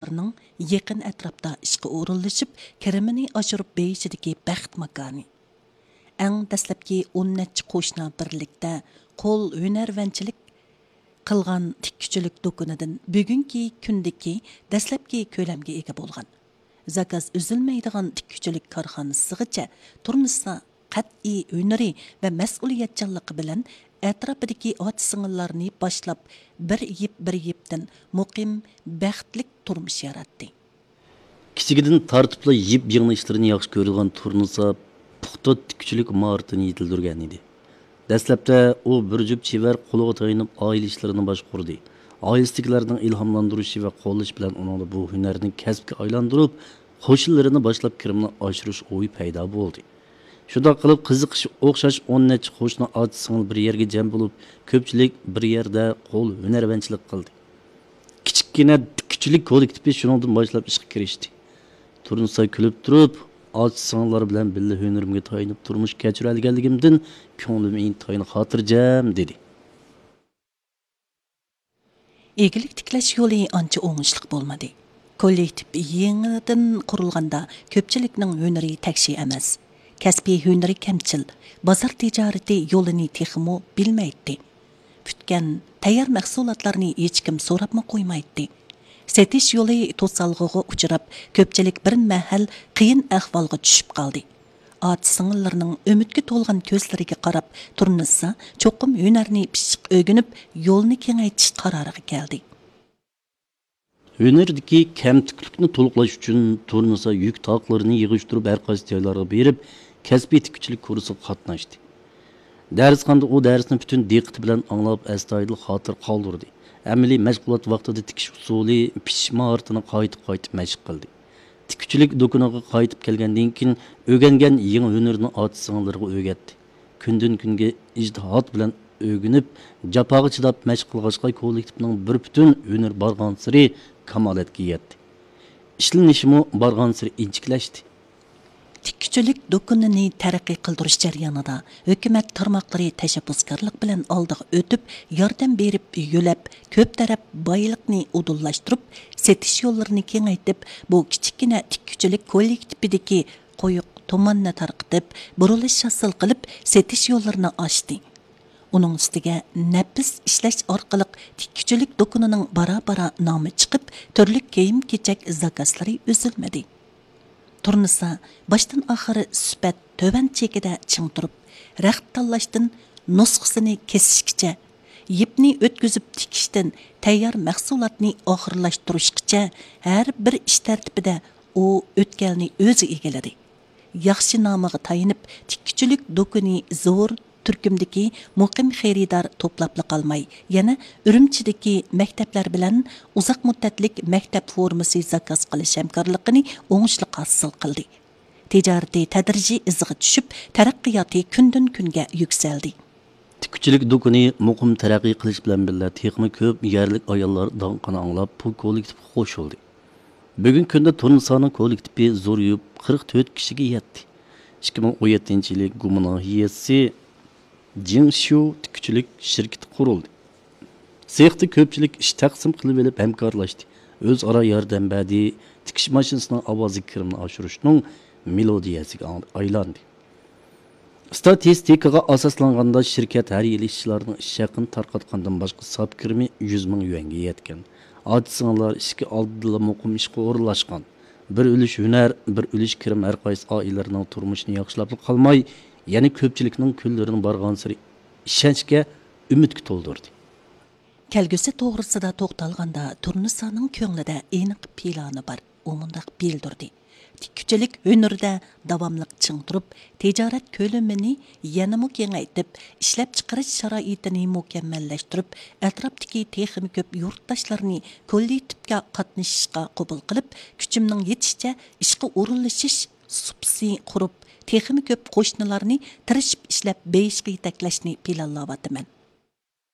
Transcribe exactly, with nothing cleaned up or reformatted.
ئاياللارنىڭ يېقىن ئەتراپتا ئىشقا ئورۇنلىشىپ، كىرىمىنى ئاشۇرۇپ بېيىشىدىكى بەخت ماكانى. ئەڭ دەسلەپكى ئون نەچچە قوشنا بىرلىكتە قول ھۈنەرۋەنچىلىك قىلغان تىككۈچىلىك دۇكىنىدىن بۈگۈنكى كۈندىكى دەسلەپكى كۆلەمگە ئىگە بولغان، زاكاز ئۈزۈلمەيدىغان تىككۈچىلىك كارخانىسىغىچە تۇرنىسا قەتئىي ھۈنىرى ۋە مەسئۇلىيەتچانلىقى بىلەن ئەتراپىدىكى ئاچا-سىڭىللارنى باشلاپ، بىر يىپ بىر يىپتىن مۇقىم، بەختلىك تۇرمۇش ياراتتى. كىچىكىدىن تارتىپلا يىپ يىڭنە ئىشلىرىنى ياخشى كۆرىدىغان تۇرنىسا پۇختا تىككۈچىلىك ماھارىتىنى يېتىلدۈرگەن ئىدى. دەسلەپتە ئۇ بىر جۈپ چېۋەر قولىغا تايىنىپ ئائىلە ئىشلىرىنى باشقۇردى. ئائىلىسىدىكىلەرنىڭ ئىلھاملاندۇرۇشى ۋە قوللىشى بىلەن ئۇنىڭدا بۇ ھۈنەرنى كەسىپكە ئايلاندۇرۇپ، قوشنىلىرىنى باشلاپ كىرىمنى ئاشۇرۇش ئويى پەيدا بولدى. شۇنداق قىلىپ قىزىقىشى ئوخشاش ئون نەچچە قوشنا ئاچا-سىڭىل بىر يەرگە جەم بولۇپ، كۆپچىلىك بىر يەردە قول ھۈنەرۋەنچىلىك قىلدى. كىچىككىنە تىككۈچىلىك كوللېكتىپى شۇنىڭدىن باشلاپ ئىشقا كىرىشتى. تۇرنىسا كۈلۈپ تۇرۇپ، ئاچا-سىڭىللار بىلەن بىللە ھۈنىرىمگە تايىنىپ تۇرمۇش كەچۈرەلىگەنلىكىمدىن كۆڭلۈم ئىنتايىن خاتىرجەم، دېدى. ئىگىلىك تىكلەش يولى ئانچە ئوڭۇشلۇق بولمىدى. كوللېكتىپ يېڭىدىن قۇرۇلغاندا كۆپچىلىكنىڭ ھۈنىرى تەكشى ئەمەس. كەسپىي ھۈنىرى كەمچىل، بازار تىجارىتى يولىنى تېخىمۇ بىلمەيتتى. پۈتكەن، تەييار مەھسۇلاتلارنى ھېچكىم سوراپمۇ قويمايتتى. سېتىش يولى توسالغۇغا ئۇچراپ، كۆپچىلىك بىر مەھەل قىيىن ئەھۋالغا چۈشۈپ قالدى. ئاچا-سىڭىللىرىنىڭ ئۈمىدكە تولغان كۆزلىرىگە قاراپ، تۇرنىسا چوقۇم ھۈنەرنى پىششىق ئۆگىنىپ، يولنى كېڭەيتىش قارارىغا كەلدى. ھۈنەردىكى كەمتۈكلۈكنى تولۇقلاش ئۈچۈن تۇرنىسا يۈك تاقلىرىنى يىغىشتۇرۇپ، ھەر قايسى جايلارغا بېرىپ، كەسپىي تىككۈچىلىك كۇرسىغا قاتناشتى. دەرسخانىدا ئۇ دەرسنى پۈتۈن دىققىتى بىلەن ئاڭلاپ، ئەستايىدىل خاتىرە قالدۇردى. ئەمەلىي مەشغۇلات ۋاقتىدا تىكىش ئۇسۇلى، پىشىش ماھارىتىنى قايتا-قايتا مەشىق قىلدى. تىككۈچىلىك دۇكىنىغا قايتىپ كەلگەندىن كېيىن، ئۆگەنگەن يېڭى ھۈنىرىنى ئاچا-سىڭىللىرىغا ئۆگەتتى. كۈندىن-كۈنگە ئىجتىھات بىلەن ئۆگىنىپ، جاپاغا چىداپ مەشىق قىلغاچقا، كوللېكتىپنىڭ بىر پۈتۈن ھۈنىرى بارغانسېرى كامالەتكە يەتتى. ئىشلىنىشىمۇ بارغانسېرى ئىنچىكىلەشتى. تىككۈچىلىك دۇكىنىنى تەرەققىي قىلدۇرۇش جەريانىدا ھۆكۈمەت تارماقلىرى تەشەببۇسكارلىق بىلەن ئالدىغا ئۆتۈپ، ياردەم بېرىپ يۆلەپ، كۆپ تەرەپ بايلىقنى ئۇدۇللاشتۇرۇپ، سېتىش يوللىرىنى كېڭەيتىپ، بۇ كىچىككىنە تىككۈچىلىك كوللېكتىپىدىكى قويۇق تۇماننى تارقىتىپ، بۇرۇلۇش ھاسىل قىلىپ، سېتىش يوللىرىنى ئاچتى. ئۇنىڭ ئۈستىگە نەپىس ئىشلەش ئارقىلىق تىككۈچىلىك دۇكىنىنىڭ بارا-بارا نامى چىقىپ، تۈرلۈك كىيىم-كېچەك زاكازلىرى ئۈزۈلمىدى. تۇرنىسا باشتىن-ئاخىر سۈپەت تۆۋەن چېكىدە چىڭ تۇرۇپ، رەخت تاللاشتىن نۇسخىسىنى كېسىشكىچە، يىپنى ئۆتكۈزۈپ تىكىشتىن تەييار مەھسۇلاتنى ئاخىرلاشتۇرۇشقىچە ھەر بىر ئىش تەرتىپىدە ئۇ ئۆتكەلنى ئۆزى ئىگىلىدى. ياخشى نامىغا تايىنىپ، تىككۈچىلىك دۇكىنى زور تۈركۈمدىكى مۇقىم خېرىدار توپلاپلا قالماي، يەنە ئۈرۈمچىدىكى مەكتەپلەر بىلەن ئۇزاق مۇددەتلىك مەكتەپ فورمىسى زاكاز قىلىش ھەمكارلىقىنى ئوڭۇشلۇق ھاسىل قىلدى. تىجارىتى تەدرىجىي ئىزغا چۈشۈپ، تەرەققىياتى كۈندىن-كۈنگە يۈكسەلدى. تىككۈچىلىك دۇكىنى مۇقىم تەرەققىي قىلىش بىلەن بىللە، تېخىمۇ كۆپ يەرلىك ئاياللار داڭقىنى ئاڭلاپ، بۇ كوللېكتىپقا قوشۇلدى. بۈگۈنكى كۈندە تۇرنىسانىڭ كوللېكتىپى زورىيىپ، قىرىق تۆت كىشىگە يەتتى. ئىككى مىڭ ئون يەتتىنچى يىلى گۇما ناھىيەسى جىڭشيۇ تىككۈچىلىك شىركىتى قۇرۇلدى. سېختا كۆپچىلىك ئىش تەقسىم قىلىۋېلىپ ھەمكارلاشتى. ئۆزئارا ياردەم بەردى. تىكىش ماشىنىسىنىڭ ئاۋازى كىرىمنى ئاشۇرۇشنىڭ مېلودىيەسىگە ئايلاندى. ئىستاتىستىكىغا ئاساسلانغاندا، شىركەت ھەر يىلى ئىشچىلارنىڭ ئىش ھەققىنى تارقاتقاندىن باشقا ساپ كىرىمى يۈز مىڭ يۈەنگە يەتكەن. ئاچا-سىڭىللار ئىشىكى ئالدىدىلا مۇقىم ئىشقا ئورۇنلاشقان. بىر ئۈلۈش ھۈنەر، بىر ئۈلۈش كىرىم ھەر قايسى ئائىلىلەرنىڭ تۇرمۇشىنى ياخشىلاپلا قالماي، يەنە كۆپچىلىكنىڭ كۈنلىرىنى بارغانسېرى ئىشەنچكە، ئۈمىدكە تولدۇردى. كەلگۈسى توغرىسىدا توختالغاندا، تۇرنىسانىڭ كۆڭلىدە ئېنىق پىلانى بار. ئۇ مۇنداق بىلدۈردى: تىككۈچىلىك ھۈنىرىدە داۋاملىق چىڭ تۇرۇپ، تىجارەت كۆلىمىنى يەنىمۇ كېڭەيتىپ، ئىشلەپچىقىرىش شارائىتىنى مۇكەممەللەشتۈرۈپ، ئەتراپتىكى تېخىمۇ كۆپ يۇرتداشلارنى كوللېكتىپكە قاتنىشىشقا قوبۇل قىلىپ، كۈچۈمنىڭ يېتىشىچە ئىشقا ئورۇنلىشىش سۇپىسى قۇرۇپ، تېخىمۇ كۆپ قوشنىلارنى تىرىشىپ ئىشلەپ بېيىشقا يېتەكلەشنى پىلانلاۋاتىمەن.